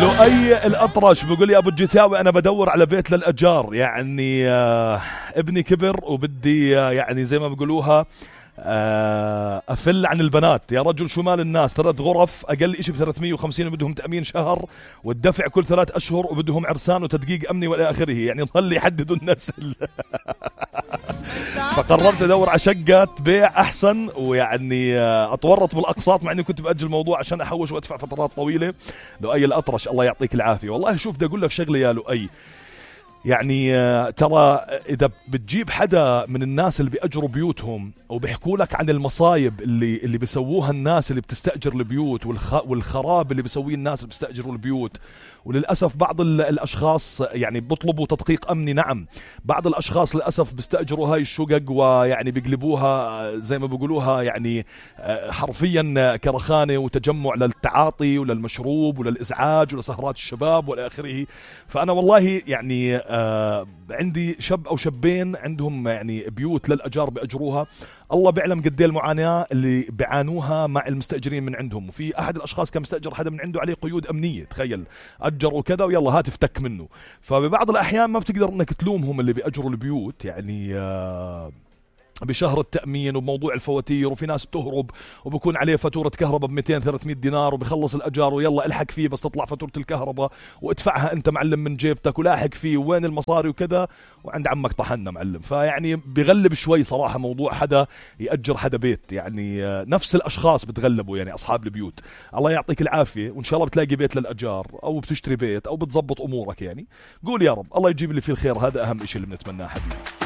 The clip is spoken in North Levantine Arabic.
لؤي الأطرش بيقول يا أبو الجثاوي أنا بدور على بيت للأجار، يعني ابني كبر وبدي يعني زي ما بيقولوها أفل عن البنات. يا رجل شو مال الناس 3 غرف أقل إشي ب350 وبدهم تأمين شهر والدفع كل 3 أشهر وبدهم عرسان وتدقيق أمني وإلى آخره، يعني ظل يحددوا النسل. فقررت أدور على شقة بيع أحسن، ويعني أتورط بالأقساط مع أني كنت بأجل الموضوع عشان أحوش وأدفع فترات طويلة. لؤي الأطرش الله يعطيك العافية. والله شوف بدي أقول لك شغلة يا لؤي، يعني ترى إذا بتجيب حدا من الناس اللي بيأجروا بيوتهم وبيحكوا لك عن المصايب اللي بيسووها الناس اللي بتستأجر البيوت والخراب اللي بيسويه الناس اللي بيستأجروا البيوت، وللأسف بعض الأشخاص يعني بيطلبوا تدقيق أمني. نعم بعض الأشخاص للأسف بيستأجروا هاي الشقق ويعني بيقلبوها زي ما بيقولوها يعني حرفيا كرخانة وتجمع للتعاطي وللمشروب وللإزعاج ولسهرات الشباب والى آخره. فأنا والله يعني عندي شاب أو شابين عندهم يعني بيوت للأجار بأجروها، الله بيعلم قد ايه المعاناة اللي بيعانوها مع المستأجرين من عندهم. وفي أحد الأشخاص كان مستأجر حدا من عنده عليه قيود أمنية، تخيل أجروا كذا ويلا هات افتك منه. فببعض الأحيان ما بتقدر أنك تلومهم اللي بيأجروا البيوت يعني بشهر التأمين وبموضوع الفواتير، وفي ناس بتهرب وبكون عليه فاتورة كهرباء ب200-300 دينار وبيخلص الأجار ويلا الحق فيه بس تطلع فاتورة الكهرباء وادفعها أنت معلم من جيبتك ولاحق فيه وين المصاري وكذا، وعند عمك طحنا معلم. فيعني بغلب شوي صراحة موضوع حدا يأجر حدا بيت، يعني نفس الأشخاص بتغلبوا يعني أصحاب البيوت. الله يعطيك العافية، وإن شاء الله بتلاقي بيت للأجار أو بتشتري بيت أو بتزبط أمورك. يعني قول يا رب الله يجيب اللي فيه الخير، هذا أهم إشي اللي بنتمناه حبيبي.